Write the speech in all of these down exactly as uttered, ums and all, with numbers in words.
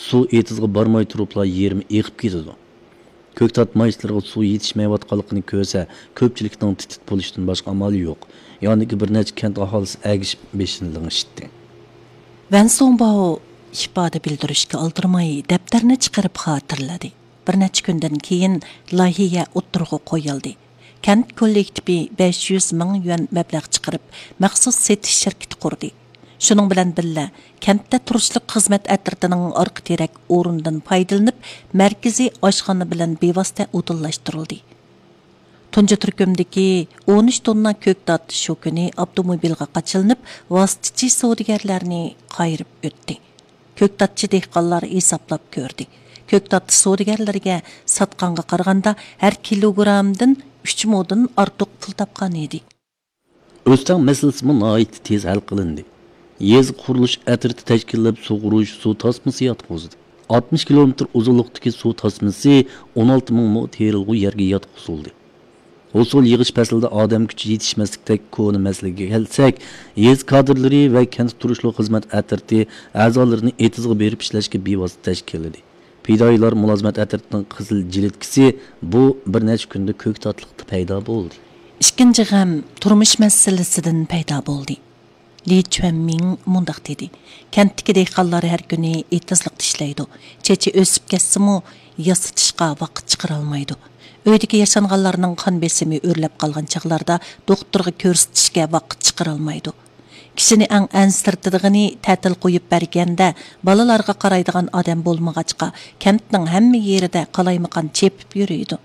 سۇ ئېتىزغا بارماي تۇرۇپلا يېرىمى ئېقىپ كېتىدۇ. كۆكتات مايسىلىرىغا سۇ يېتىشمەيۋاتقانلىقىنى كۆرسە، كۆپچىلىكنىڭ تىت-تىت بولۇشتىن باشقا ئامالى يوق. ياندىكى بىر نەچچە كەنت ئاھالىسى ئەگىشىپ بېشىنى لىڭشىتتى. ۋەن سۇڭباۋ ئىپادە بىلدۈرۈشكە ئالدىرىماي دەپتەرنى چىقىرىپ خاتىرىلىدى. بىر نەچچە كۈندىن كېيىن لايىھە ئوتتۇرىغا قويۇلدى. كەنت كوللېكتىپى بەش يۈز مىڭ يۈەن مەبلەغ چىقىرىپ، مەخسۇس سېتىش شىركىتى قۇردى. شۇنىڭ بىلەن بىللە، كەنتتە تۇرۇشلۇق خىزمەت ئەترىتىنىڭ ئارقا تىرەك ئورنىدىن پايدىلىنىپ، مەركىزىي ئاشخانا بىلەن بىۋاسىتە ئۇدۇللاشتۇرۇلدى. تۇنجى تۈركۈمدىكى ئون ئۈچ توننا كۆكتات شۇ كۈنى ئاپتوموبىلغا قاچىلىنىپ، ۋاسىتىچى سودىگەرلەرنى قايرىپ ئۆتتى. كۆكتاتچى دېھقانلار ھېسابلاپ كۆردى. كۆكتات سودىگەرلىرىگە ساتقانغا قارىغاندا، ھەر كىلوگرامدىن ئۈچ مودىن ئارتۇق پۇل تاپقان ئىدى. ئۆستەڭ مەسىلىسىمۇ ناھايىتى تېز ھەل قىلىندى. يېزا قۇرۇلۇش ئەترىتى تەشكىللەپ سۇغۇرۇش، سۇ تاسمىسى ياتقۇزدى. ئاتمىش كىلومېتىر ئۇزۇنلۇقتىكى سۇ تاسمىسى ئون ئالتە مىڭ مو تېرىلغۇ يەرگە ياتقۇزۇلدى. ھوسۇل يىغىش پەسلىدە ئادەم كۈچى يېتىشمەسلىكتەك كونا مەسىلىگە كەلسەك، يېزا كادىرلىرى ۋە كەنتتە تۇرۇشلۇق خىزمەت ئەترىتى ئەزالىرىنى ئېتىزغا بېرىپ ئىشلەشكە بىۋاسىتە تەشكىللىدى. پىدائىيلار مۇلازىمەت ئەترىتىنىڭ قىزىل جىلىتكىسى بۇ بىر نەچچە كۈندە كۆكتاتلىقتا پەيدا بولدى. ئىككىنچى غەم تۇرمۇش مەسىلىسىدىن پەيدا بولدى. لى چۈەنمىڭ مۇنداق دېدى: كەنتتىكى دېھقانلار ھەر كۈنى ئېتىزلىقتا ئىشلەيدۇ. چېچى ئۆسۈپ كەتسىمۇ، ياسىتىشقا ۋاقىت چىقىرالمايدۇ. ئۆيدىكى ياشانغانلارنىڭ قان بېسىمى ئۆرلەپ قالغان چاغلاردا دوختۇرغا كۆرسىتىشكە ۋاقىت چىقىرالمايدۇ. كىشىنى ئەڭ ئەنسىرىتىدىغىنى، تەتىل قويۇپ بەرگەندە بالىلارغا قارايدىغان ئادەم بولمىغاچقا، كەنتنىڭ ھەممە يېرىدە قالايمىقان چېپىپ يۈرىدۇ.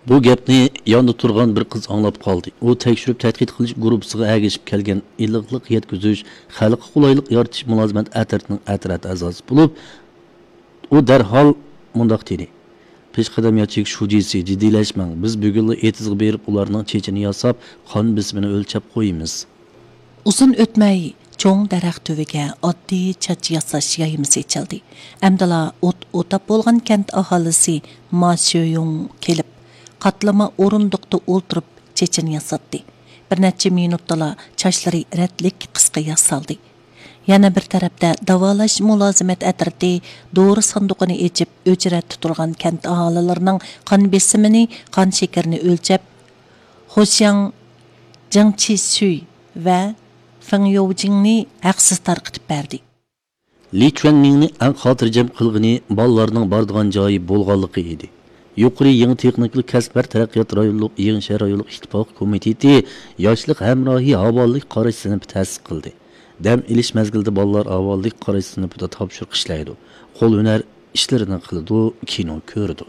بۇ گەپنى ياندا تۇرغان بىر قىز ئاڭلاپ قالدى. ئۇ تەكشۈرۈپ تەتقىق قىلىش گۇرۇپپىسىغا ئەگىشىپ كەلگەن ئىللىقلىق يەتكۈزۈش، خەلققە قولايلىق يارىتىش مۇلازىمەت ئەترىتىنىڭ ئەترەت ئەزاسى بولۇپ، ئۇ دەرھال مۇنداق دېدى: پېشقەدەم ياچېيكا شۇجىسى، جىددىيلەشمەڭ، بىز بۈگۈنلا ئېتىزغا بېرىپ، ئۇلارنىڭ چېچىنى ياساپ، قان بېسىمىنى ئۆلچەپ قويىمىز. ئۇزۇن ئۆتمەي، چوڭ دەرەخ تۈۋىگە ئاددىي چاچ ياساش يايمىسى ئېچىلدى. ئەمدىلا ئوت ئوتاپ بولغان كەنت ئاھالىسى ما شۆيۇڭ كېلىپ، قاتلىما ئورۇندۇقتا ئولتۇرۇپ چېچىنى ياساتتى. بىر نەچچە مىنۇتتىلا چاچلىرى رەتلىك قىسقا ياسالدى. يەنە بىر تەرەپتە داۋالاش مۇلازىمەت ئەترىتى دورا ساندۇقىنى ئېچىپ، ئۆچرەتتە تۇرغان كەنت ئاھالىلىرىنىڭ قان بېسىمىنى، قان شېكىرىنى ئۆلچەپ، خوشياڭ جېڭ چىسۈي ۋە فېڭ يوۋجىڭنى ھەقسىز تارقىتىپ بەردى. لى چۈەنمىڭنى ئەڭ خاتىرجەم قىلغىنى بالىلارنىڭ بارىدىغان جايى بولغانلىقى ئىدى. يۇقىرى يېڭى تېخنىكىلىق كەسىپلەر تەرەققىيات رايونلۇق يېڭى شەھەر رايونلۇق ئىتتىپاق كومىتېتى ياشلىق ھەمراھى ھاۋالىلىك قاراش سىنىپى تەسىس قىلدى. دەم ئېلىش مەزگىلىدە بالىلار ھاۋالىلىك قاراش سىنىپىدا تاپشۇرۇق ئىشلەيدۇ. قول ھۈنەر ئىشلىرىنى قىلىدۇ، كىنو كۆرىدۇ.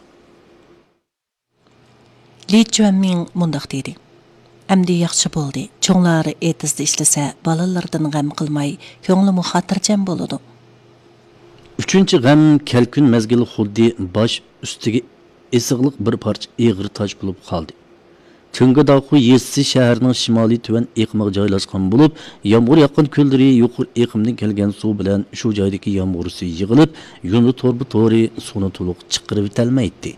لى چۈەنمىڭ مۇنداق دېدى: ئەمدى ياخشى بولدى. چوڭلار ئېتىزدا ئىشلىسە، بالىلاردىن غەم قىلماي، كۆڭلىمۇ خاتىرجەم بولىدۇ. ئۈچىنچى غەم كەلكۈن مەزگىلى خۇددى باش ئۈستىگە ئېسىقلىق بىر پارچە ئېغىر تاش بولۇپ قالدى. تىڭگىداخۇ يېزىسى شەھەرنىڭ شىمالىي تۆۋەن ئېقىمىغا جايلاشقان بولۇپ، يامغۇر ياغقان كۈنلىرى يۇقىرى ئېقىمدىن كەلگەن سۇ بىلەن شۇ جايدىكى يامغۇر سۈيى يىغىلىپ، يۇندى توربا تورى سۇنى تولۇق چىقىرىۋېتەلمەيتتى.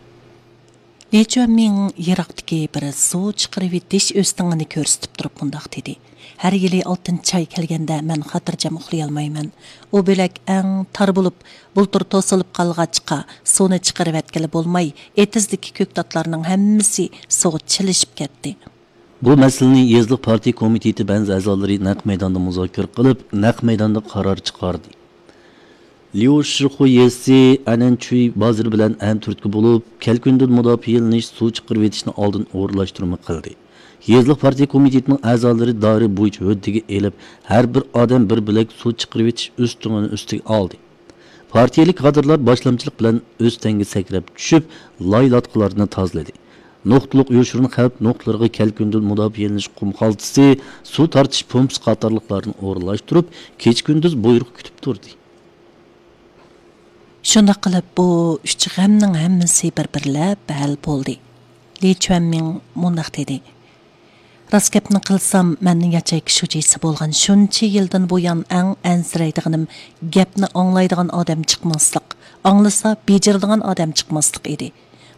لى چۈەنمىڭ يىراقتىكى بىر سۇ چىقىرىۋېتىش ئۆستىڭىنى كۆرسىتىپ تۇرۇپ مۇنداق دېدى: ھەر يىلى ئالتىنچى ئاي كەلگەندە مەن خاتىرجەم ئۇخلىيالمايمەن. ئۇ بۆلەك ئەڭ تار بولۇپ، بۇلتۇر توسۇلۇپ قالغاچقا، سۇنى چىقىرىۋەتكىلى بولماي، ئېتىزدىكى كۆكتاتلارنىڭ ھەممىسى سۇغا چىلىشىپ كەتتى. بۇ مەسىلىنى يېزىلىق پارتىيە كومىتېتى بەزى ئەزالىرى نەق مەيداندا مۇزاكىرە قىلىپ، نەق مەيداندا قارار چىقاردى. ليۇ شىخۇ يېزىسى ئەنەنچۈي بازىرى بىلەن ھەمتۈرتكە بولۇپ، كەلكۈندىن مۇداپىئەلىنىش، سۇ چىقىرىۋېتىشنى ئالدىن ئورۇنلاشتۇرما قىلدى. يېزىلىق پارتىيە كومىتېتىنىڭ ئەزالىرى دائىرە بويىچە ھۆددىگە ئېلىپ، ھەر بىر ئادەم بىر بۆلەك سۇ چىقىرىۋېتىش ئۆستىڭىنى ئۈستىگە ئالدى. پارتىيەلىك كادىرلار باشلامچىلىق بىلەن ئۆستەڭگە سەكرەپ چۈشۈپ، لاي-لاتقىلارنى تازىلىدى. نۇقتىلىق يوشۇرۇن خەۋپ نۇقتىلىرىغا كەلكۈندىن مۇداپىئەلىنىش قۇم خالتىسى، سۇ تارتىش پومپىسى قاتارلىقلارنى ئورۇنلاشتۇرۇپ، كېچە-كۈندۈز بۇيرۇق كۈتۈپ تۇردى. شۇنداق قىلىپ، بۇ ئۈچ غەمنىڭ ھەممىسى بىر-بىرلەپ ھەل بولدى. لى چۈەنمىڭ مۇنداق دېدى: راست گەپنى قىلسام، مەن ياچېيكا شۇجىسى بولغان شۇنچە يىلدىن بۇيان، ئەڭ ئەنسىرەيدىغىنىم گەپنى ئاڭلايدىغان ئادەم چىقماسلىق، ئاڭلىسا بېجىرىدىغان ئادەم چىقماسلىق ئىدى.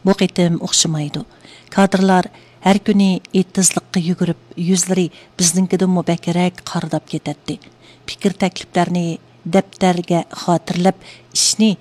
بۇ قېتىم ئوخشىمايدۇ. كادىرلار ھەر كۈنى ئېتىزلىققا يۈگۈرۈپ، يۈزلىرى بىزنىڭكىدىنمۇ بەكرەك قارىداپ كېتەتتى. پىكىر تەكلىپلەرنى دەپتەرگە خاتىرىلەپ، ئىشنى